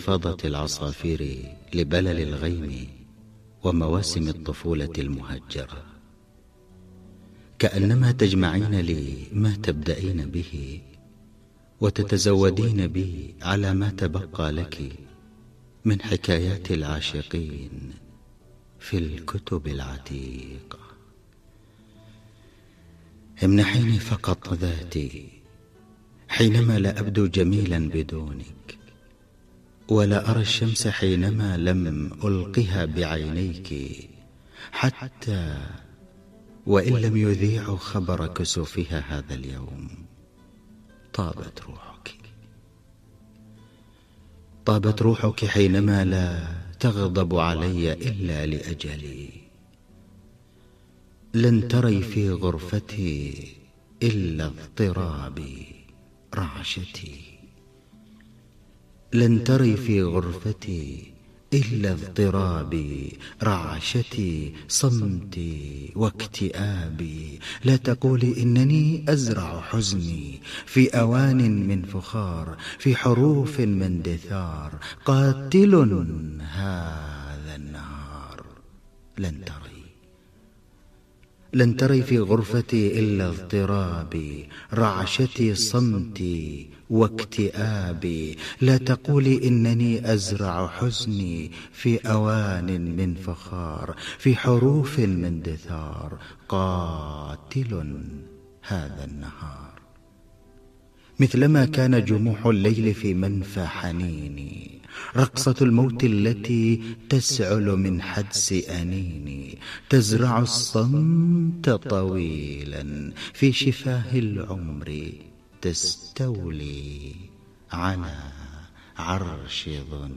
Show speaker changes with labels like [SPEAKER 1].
[SPEAKER 1] انتفاضة العصافير لبلل الغيم ومواسم الطفولة المهجرة. كأنما تجمعين لي ما تبدأين به وتتزودين بي على ما تبقى لك من حكايات العاشقين في الكتب العتيقة. امنحيني فقط ذاتي حينما لا أبدو جميلا بدونك، ولا أرى الشمس حينما لم ألقها بعينيك، حتى وإن لم يذيع خبر كسوفها هذا اليوم. طابت روحك، طابت روحك حينما لا تغضب علي إلا لأجلي. لن تري في غرفتي إلا اضطرابي رعشتي، لن تري في غرفتي إلا اضطرابي رعشتي صمتي واكتئابي. لا تقولي إنني أزرع حزني في أوان من فخار، في حروف من دثار، قاتل هذا النهار. لن تري، لن تري في غرفتي إلا اضطرابي رعشتي صمتي واكتئابي. لا تقولي إنني أزرع حزني في أوان من فخار، في حروف من دثار، قاتل هذا النهار. مثلما كان جموح الليل في منفى حنيني، رقصة الموت التي تسعل من حدس أنيني، تزرع الصمت طويلا في شفاه العمر، تستولي على عرش ظنوني.